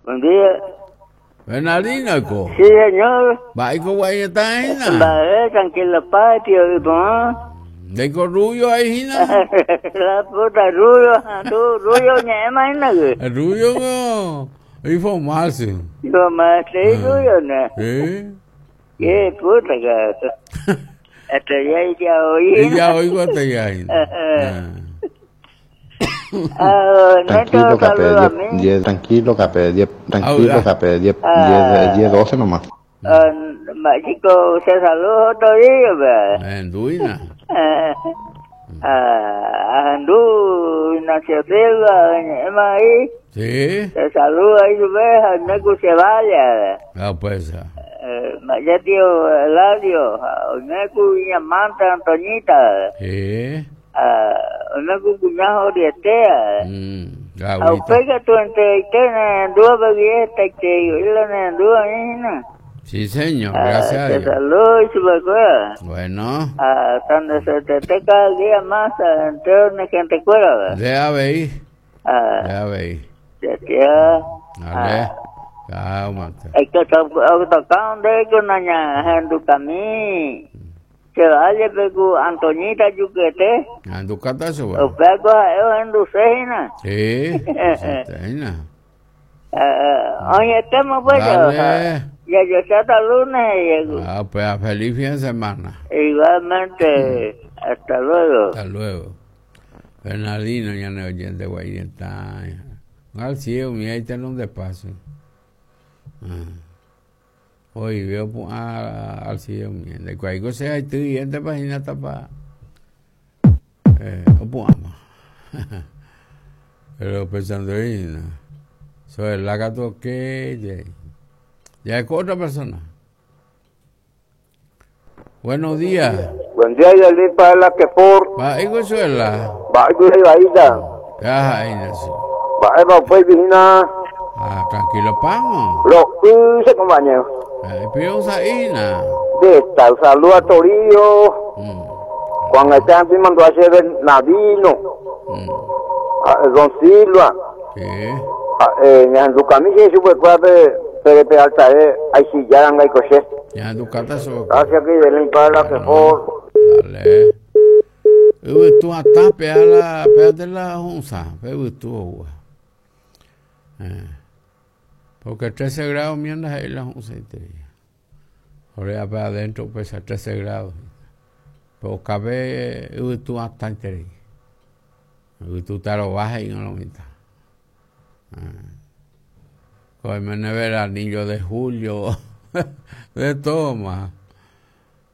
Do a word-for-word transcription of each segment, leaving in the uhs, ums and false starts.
Buen día. Bernardino, co. Sí, señor. Va, y con guayeta, Vale, tranquilo, patio, y pon. De con rubio ahí, Gina. La puta, rubio, tú, rubio, ñema, ¿no? El rubio, no. Y formarse. Yo más, sí, rubio, ¿no? Sí. Qué puta, cabrón. Hasta ya, ya oí. Y ya oigo hasta ya, Gina. Ah, Tranquilo, Neto, K P, saludo a diez, mí. diez, tranquilo, K P, diez, tranquilo, Ah, K P, diez, Ah. diez, diez, doce nomás. Ah, chico, se saludo otro día, ¿verdad? En Duina. Ah, Andú, Ignacio Silva, ñema ahí. Sí. Se saluda ahí su vez, Neco se vaya. Ah, pues. Eh, ya tío Eladio, Neco y Amanta Antoñita, Sí. ah, Neco cuñado Oriestea. Mm, A agüita. usted que tú entre andúa bebiesta y te la andúa nina. Sí, señor. Gracias a Te Dios. saludo y su becuera. Bueno. Ah, donde se te te cada día más entre gente cuera. Deja ver. Ah, Deja ver. ya tía. Dale. Chao, mate. Es que tocaron de que una ña cami. Se vaya pecu Antoñita Yuquete. Anducata su. O peco a en Lucena. Sí. Santena. Oye, estamos pues. Dale. Ya yo sé hasta lunes. llego. Ah, pues a feliz fin de semana. Igualmente, hasta luego. Hasta luego. Bernardino, ya no oyente guayeta. Al cielo, mira, ahí está un despacio. Ah. Hoy veo pu- a- al cielo, mira. De cualquier cosa, ahí estoy, esta página está pa. Eh, o puama. Pero pensando ahí, no. Sobre la gato que ya. Ya es con otra persona. Buenos días. Buen día, Yalí, para la que por. Va, ahí con suela. Va, ahí va, Ya, ahí nació. Va, va, pues, vigina. Ah, tranquilo, pamo. Lo hice, compañero. Eh, pido saína. De tal saludo a Torillo. Mm, Juan Esteban mandó a hacer Bernardino. mm. A Don Silva. Sí. A, eh, Ñandu Camilla y su cuerpo P D P alta, eh, ahí sí, ya dan ahí coche. Ya tu cata so. Gracias, que Yalí, para la que por. Dale. Uy, tú hasta pega la pégate la junza, pega tú. Eh. Porque trece grados mierda ahí la junza y te. Ahora para adentro pues a trece grados. Pero cabe uy tú hasta entero. Uy tú te lo bajas y no lo mitad. Ah. Cogerme nevera, anillo de julio, de todo más.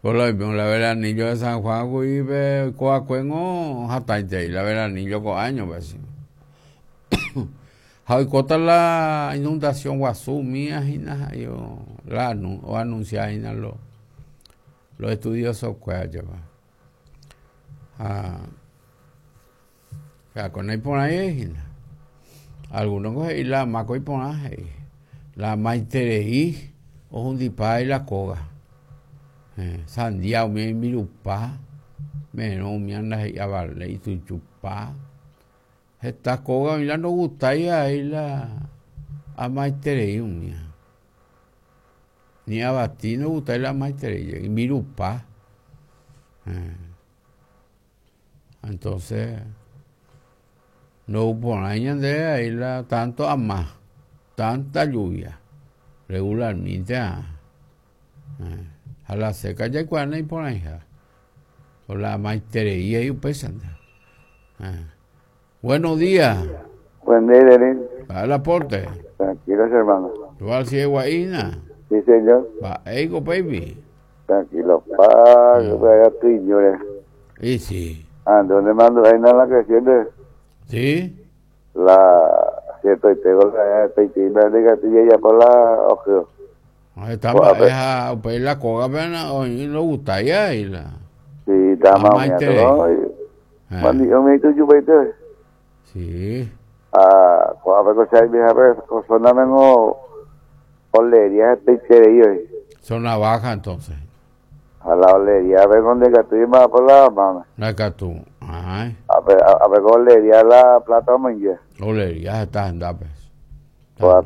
Por lo mismo, la veranillo de San Juan, y ve coacuengo, hasta y la veranillo con años, pues. Hoy cota la inundación guazú mía, yo la anu, o anunciar los los estudiosos cuál lleva. Ah, ya con ahí por ahí, algunos coge y la maco y por ahí, la maitereí o un y la coga. Eh, sandia mi mirupa, menos mi anda y abarle y tu chupa. Esta coga mi la no gusta y ahí la a maitereí mía. Ni a bati no gusta la maitereí y mirupa. Eh. Entonces, no por ahí de ahí la tanto a más, tanta lluvia, regularmente ah. Eh. A la seca ya cuando y por ahí ya. Por la maitereía y pesan. Eh. Buenos días. Buen día, Denis. Va el aporte. Tranquilos, hermano. ¿Tú al ciego ahí, na? Sí, señor. Va, ego, baby. Tranquilo, pa, que vaya tú y yo, eh. Y sí. Ah, ¿dónde mando? Ahí no la cuestión de Sí. la cierto y tengo la y la gatilla ya por la ojo. Ahí está, Pues, a ver. esa, pues la coga, pero hoy no gusta ya y la. Sí, está Ah, más maite. ¿no? Eh, Mandi, yo me digo, yo vete. Sí. Ah, cuando me cosa vieja, pues, zona mengo olería este y Zona baja entonces. A la olería, a ver dónde gato y más por la mano. La tú. Ay, A ver, a, a ver olería la plata mangue. olería está en pues. Pues, pues,